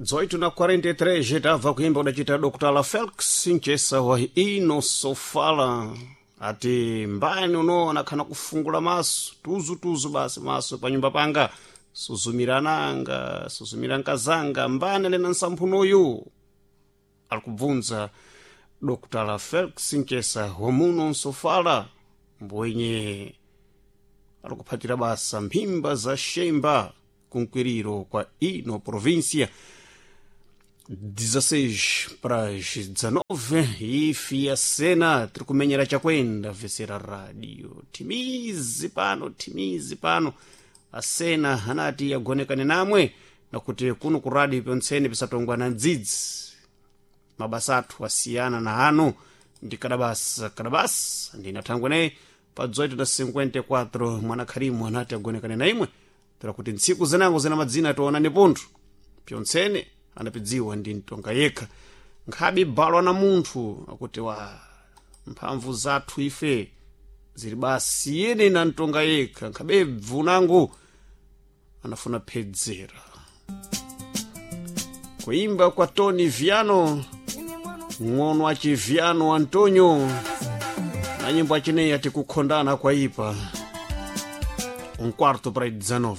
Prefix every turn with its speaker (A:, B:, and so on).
A: 18 na 43 tabva kuimba kudachita Dr. Felix Nchesa wa ino sofala ati mbani uno anakhana kufungula maso tuzutuzu basi maso pa nyumba panga suzumirananga suzumira nkazanga mbani alena nsamphunoyu ali kubvunza Dr. Felix Nchesa wamuno nsofala mbwenye ali kuphatira basa mphimba za xemba kunkwiriro kwa ino província. 16 para as 19 ifi a cena tiri kumenyera chakwenda vesera radio timizi pano timizi pano asena anati agonekane namwe nakuti kuno ku radio pyontsene pisatongwa na ndzidzi mabasa athu asiyana na ano ndi kadabasa kadabasa ndinathangwe naye pa 18 na 54 mwana kharimu anati agonekane na imwe tira kuti ntsiku zinango zina madzina tionane pontho pyontsene anapidziwa ndi mtonga yekha nkhabe balwa na munthu akuti wa mphamvu zathu ife zili basi yene na mtonga yekha nkhabe bvunango anafuna phedzera kuimba kwa Tony Viano ng'ono achiviano Antonio na nyimbo achineyi ati kukhondana kwaipa 19:45.